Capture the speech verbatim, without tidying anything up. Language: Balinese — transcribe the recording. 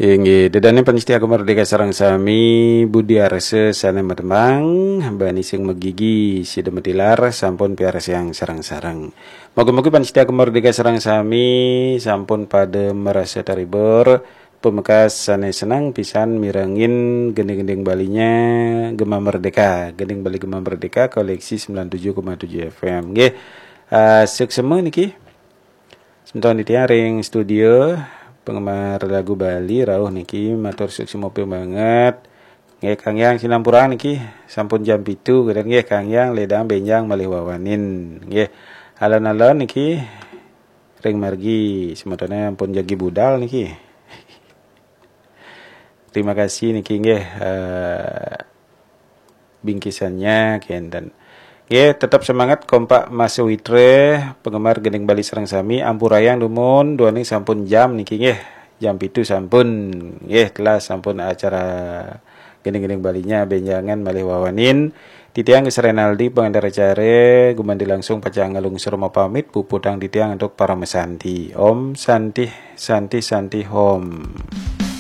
Inggih, ida dané pamiarsa Gema Merdeka sareng sami, budi arsa sané matembang, bani sing magigi sida matilar, sampun piarsayang sareng-sareng. Moga-moga pamiarsa Gema Merdeka sareng sami sampun pada marasa terhibur, pamekas sané seneng pisan mirengin gending-gending Balinya Gema Merdeka, gending Bali Gema Merdeka koleksi sembilan tujuh koma tujuh F M. Nggih. Eh, suksma niki. Semeton titiang ring studio, penggemar lagu Bali rauh niki matur suksma banget. Nggih, Kang Yang sinampura niki sampun jam pitu, kemudian nggih Kang Yang ledang benjang malih wawanin. Nggih. Alon-alon niki ring margi semetoné ampun jagi budal niki. Terima kasih niki nggih, eh, bingkisannya kenten. Nggih, tetap semangat, kompak masih witre, penggemar gending Bali sareng sami, ampurayang dumun, duaning sampun jam niki nggih. Jam pitu sampun nggih, telas sampun acara gending-gending Balinya benjangan malih wawanin. Titiang Gus Renaldi, pengantar acara, gumanti langsung pacang ngalungsur mapamit, puputang titiang untuk parama santi. Om Santi, Santi, Santi, Om.